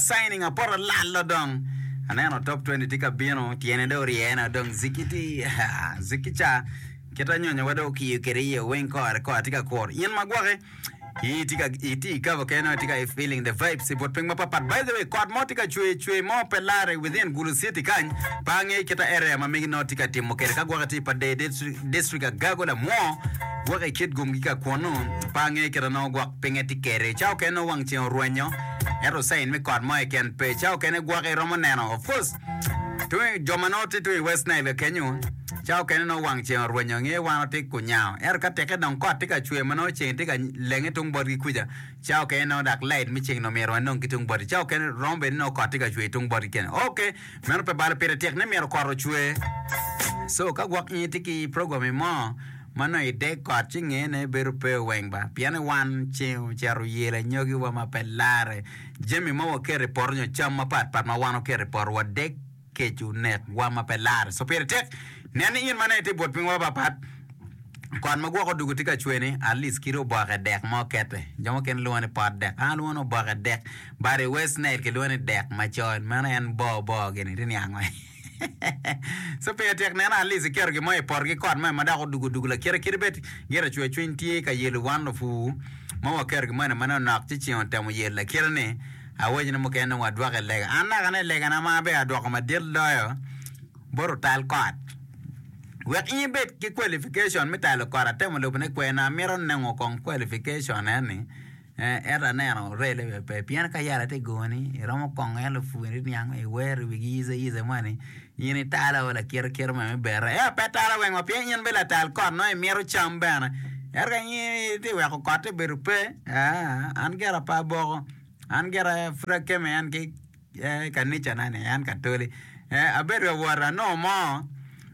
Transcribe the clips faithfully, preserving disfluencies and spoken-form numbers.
Signing apoto lalo dong aneno top twenty tye ka bino tyene dong oryene dong ziki tye ziki ca kit anyonyo wa dong okiyo kwede iye weng kore kore tye ka kuro in ma gwoki itye i cover kene itye ka feeling the vibes i but piny mapat pat by the way kot mo tye ka cwer cwer mo pe lare within Gulu city kany pe angeyo kit area ma megi nongo tye ka timo kwede ka gwoki tye i Pader district Agago lamwo gwoki i Kitgum ki ka kunu pe angeyo kit ma nongo gwok pinye tye kwede ca okene nongo wang ceng orwenyo ento sign me kot mo keken pe ca okene gwoki iromo neno of course jo ma nongo tye tung i West Nile kenyo ca okene nongo wang ceng orwenyo nge wan watye kunyango ento ka teke dong kot tye ka cwer ma nongo ceng tye ka lenge tung botgi kuca ca okene nongo dok light me ceng dong myero wanong ki tung botgi ca okene romo bedo ni nongo kot tye ka cwer tung botgi kene ok meno pe balo pire tek ni myero kot ocwer so ka gwok in itye ki program mo ma nongo ideg kot ci ngene bedo pe weng ba pien ni wan ceng ocito oyelo anyogiwa ma pe lare jami ma waketo i poto nyo cam mapatpat ma wan oketo i poto wadeg kec onekwa ma pe lare so pire tek nen ni in ma nongo itye i but piny mapapat kot ma gwoko odwogo tye ka cwer-ni at least kadi oboke dek mo kete jo mukene lwongo ni pot dek an alwongo ni oboke dek but i West Nile kilwongo ni dek macol meno en bor bor gini iti niango so pire tek neno at least iketo gin mo i poto ki kot mo ma dok odwogo odwogo lakite kadi bed gire cwer cwiny tye ka yelo wan lupur ma waketo gin moni ma nongo nok ci ceng otemo yelo lakite ni awaco ni mukene dong wadwoko i lega an naka ne legana ma aber adwoko madit loyo bot otal kot wek in ibed ki qualification me talo kot atemo lubone kwena amito nongo kong qualification eni ento aneno rele bene pe pien ka yat tye goni iromo kongo en lupur niang iwero wigi yice yice moni in italo lakite kite me bere ento pe talo weng wa pien in bene latal kot nongo imito cam bene ento ka in itye weko kotte bedo pe an gira pe aboko an gira pud akeme en ki kanicana ni en katoli abedo ka wot anongo mo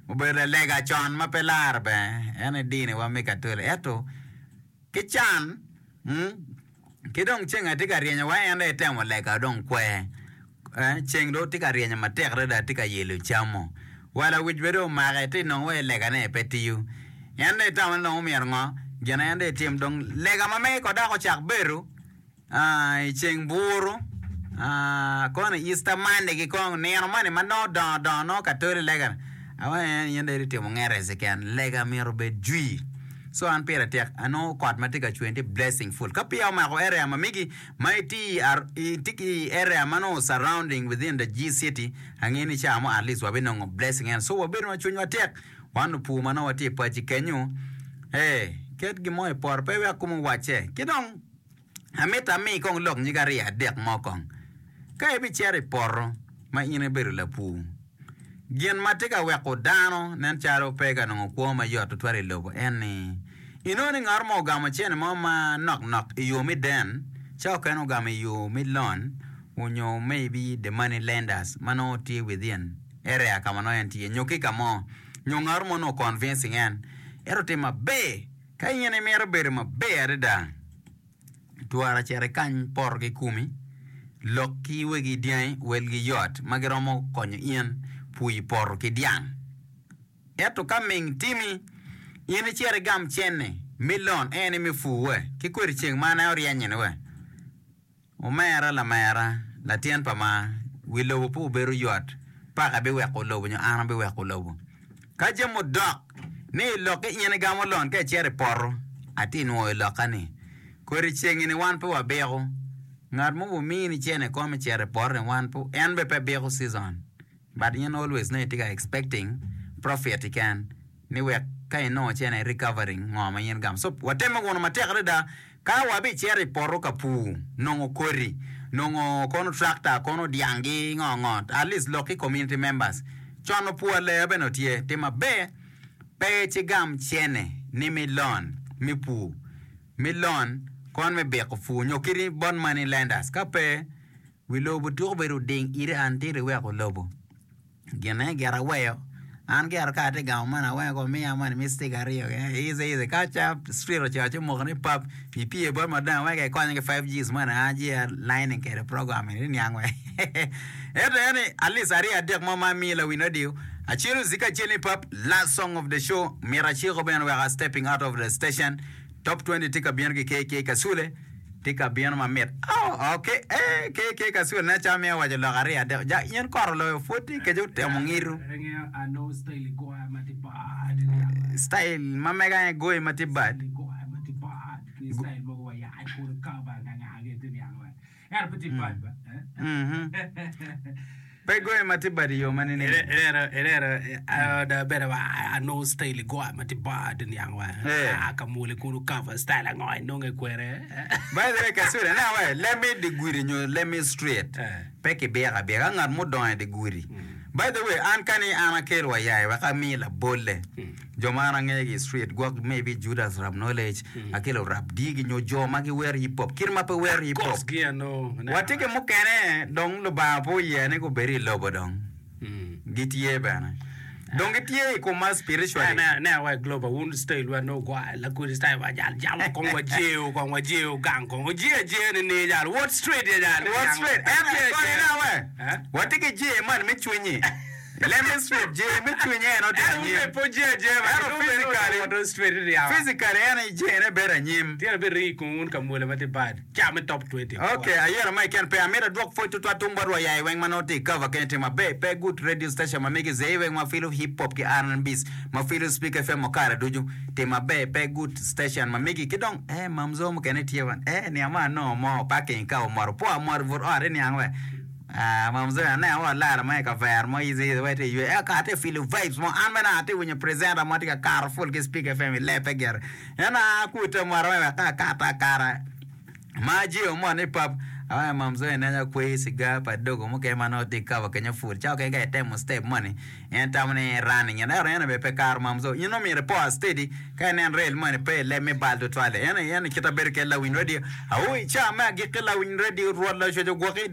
obedo lalega con ma pe laro bene en aye diniwa me katoli ento ki can ki dong ceng atye ka ryenyo wa en dong etemo lega dong kwer ceng dong tye ka ryenyo matek adada tye ka yelo camo wa lawic bene dong omake tye nongo wa legane pe tiyo en dong etamo ni dong omyero ngo gin en dong etim dong lega ma mege kong dok ocak bedo i ceng buru kono Easter Monday ki kong nino moni ma nongo odongo dongo nongo katoli lega awaco ni in dong itye timo ngete keken lega myero obed jwi so an pire tek anongo kot ma tye ka cwer tye blessing full ka peya omako area ma megi ma itye ki area ma nongo surrounding within the G city angeyo ni ca mo at least wabinongo blessing eno so wabedo ma cwinywa tek wan lupur ma nongo watye i paci kenyo ket gin mo i poto pe iwek kome owacce ki dong amito ami kong lok nyig aryo adek mo kong ka ibicito i poto ma in ibedo lapur gin ma tye ka weko dano nen calo pe ka nongo kwo mayot tutwal i lobo en ni inongo ni ngat mo ogamo cene mo ma nok nok i yo me den ca okene ogamo i yo me loan onyo maybe the money lenders ma nongo tye within area ka ma nongo en tye nyo ki ka mo nyo ngat mo nongo convincing en ento timo maber ka in imito bedo maber adada twara cito ikany poto ki komi lok ki wegi dyangi welgi yot ma giromo konyo in pur i poto ki dyang ento ka ming timi in icito igam cene me loan en me pur we ki kodi ceng ma en oryenyo ni we omera lamera latin pa ma wi lobo pe obedo yot paka biweko lobo nyo an abiweko lobo ka jami odok ni ilokke in igamo loan ka icito i poto atye nwoyo lokka ni kodi cengi ni wan pe wabiko ngat mo omini cene kono me cito i poto ni wan pe en bene pe biko season but in always nongo itye ka expecting profit keken ni wek ka inongo cene recovering ngo ma in igamo so watemme wunu matek adada ka wabicito i poto ka pur nongo kodi nongo kono tractor kono dyangi ngo ngo at least lok ki community members con opur aleya bene tye tim maber pe cigam cene ni mi loan me pur mi loan kon me biko pur nyo kadi bot money lenders ka pe wi lobo tuko bedo ding iri until iweko lobo gine gira aweyo an gira ka atye gamo man aweyo ko miya moni mi stick aryo easy easy ka ca street ocito ci omoko ni pap ipye bot madam wek ikonye ki five Gs moni an aye lining kede program eni niang we ento en at least aryo adek mo ma amiyo lawiny radio acelo zika acel ni pap last song of the show mito aciko bene wek a stepping out of the station top twenty tye ka bino ki K K Kasule Tye ka bino mamit. Oh, ok. Eh, ke ke ka sul ne ca miyo waco lok aryo adek. Ja, in kor oloyo pwod tye kece otemo ngiru. Style ma mega aye goyi ma tye bad. Mhm. Pe goyi ma tye bad i yo ma nining? Ineno, ineno, ada bene wa anongo style goya ma tye bad niang wa. Eh. Ah, ka mwole kunu cover style ango inonge kwere. By the way, Kasule, ne awe, lemi di gudi nyo lemi street. Eh. Pe kibiko abika, ngat mudongo i di gudi. By the way, an kani an akel wa yai wek ami labolle. Jo ma an angeyo i street, gwok maybe Judas Rap Knowledge, akelo Rap Digi nyo jo ma giwero hip hop, kit ma pe wero hip hop. Kos gi ano. Watye ki mukene dong Lubanga pe oye ni gubed i lobo dong. Gitye bene. Dong gitye i kom ma spiritually. Ne ne wa global wun style wa no gwa la kudi style wa jal jam kong wa jeo kong wa jeo gang kong oje aje ni ni jal what straight ya jal What straight? En Aje, koni aje. na we. Eh? Watye ki je man me cwinyi. Lemme straight, je me cwinyi en otye En anyim. pe po je aje ma Ento physically, What straight ni ya. physically en aye je ne bedo anyim. Tira be ri kun un ka mwole ma tye bad. Ca me top twenty. Ok, ayero ma iken pe amito adwok pwoc tutwal tung bot wa yai weng ma nongo tye i cover kene tye maber pe good radio station ma megi zei weng ma filo hip hop ki R and B's ma filo Speak F M okara ducu tye maber pe good station ma megi ki dong eh mamzo mukene tye wan eh niang ma anongo mo parking ka omoto po amoto but ot iniang we ah mamzo aneno wa lara ma i kavera mo easy easy wai tye ywe eh ka atye filo vibes mo an bene atye winyo presenter mo tye ka kato full ki Speak F M i lepe gire en a kute moto wek ka akato akata ma ajiyo mo ni pap awaco mamzo ineno kweyo cigar pa dogo mukene ma nongo tye i cover kenyo full ca okene ka itemo step moni en tamo ni running ento en bene pe karo mamzo in omyero ipo steady ka inen rail moni pe ileb me bal tutwal en en kit abedo kede lawiny radio awi ca me agikki lawiny radio rwot lacwec ogwoki